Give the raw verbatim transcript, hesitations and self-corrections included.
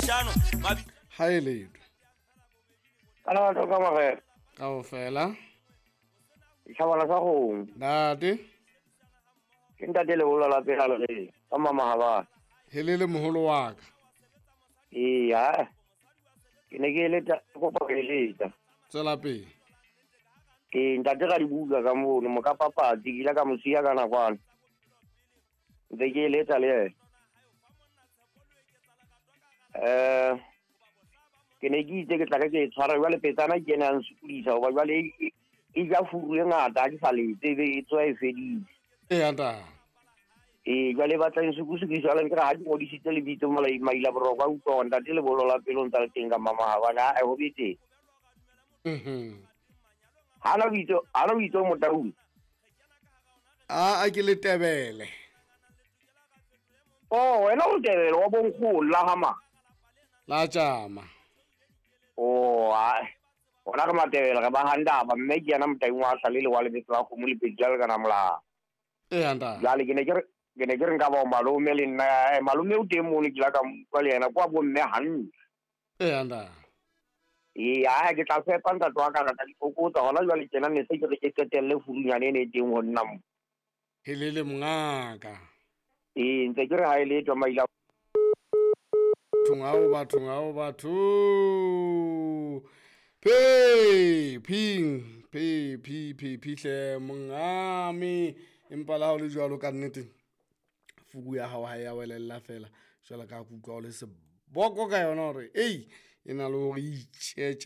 leshano. Ha e letho. Kana to ka magela. Kaofela. Ditjhabana sa kgomo. Ntate. Ke ntate Lebollo la pela le ka mama ha ba. Helele moholo wa ka. Ee, ha. Ke ne ke eletsa kopa ho eletsa. Tswela pele. Ee, ntate ra di buka ka mono mo ka papatsi ke ile ka mo siya ka nakwana. Ntse ke eletsa le yena. Eh ke ne ke itse ke tla ke ke e tshwara jwale petsana ke ena a nsokodisa hoba jwale e e ja furu e ngata ha ke sa letse ebe e tswa e fedile. Eya ntate. Ee, jwale e batla e nsokodisa jwale nkere ha ke ngodisitse lebitso mola maila boroko a utlwa hore ntate Lebollo la pele o ntsa le teng ka mama habane ha ho betere. Mhm. Hana o itse hana o itse o Motaung. A a ke Letebele. Oh, wena o Letebele wa bonkgono la ha mang? La tjama. Oh, ai. Ona re Matebele re ba handaba mme ke yena Motaung wa sa le le wa lebitso la kgomo le pedi jwalo ka na molao. Eya ntate. Jwale ke ne ke re ke ne ke re nka ba o malome le nna eh, malome o teng mono ke la ka utlwa le yena kwa bo mme hantle. Eya ntate. Ee, ae ke tla fepa ntate wa ka re tla di fokotsa hona jwale tjena ne se ke re ke qetelle furunyane e ne e teng ho nna mo. Helele mongaka. Ee, ntse ke re ha e letho maila. Bathong ao bathong ao batho. Phe phing phe phi phi phihle mongame empa la ha o le jwalo ka nnete fuku ya hao ha ya welella fela jwalo ka kutlwa o le seboko ka yona hore ei e na le hore itjetje.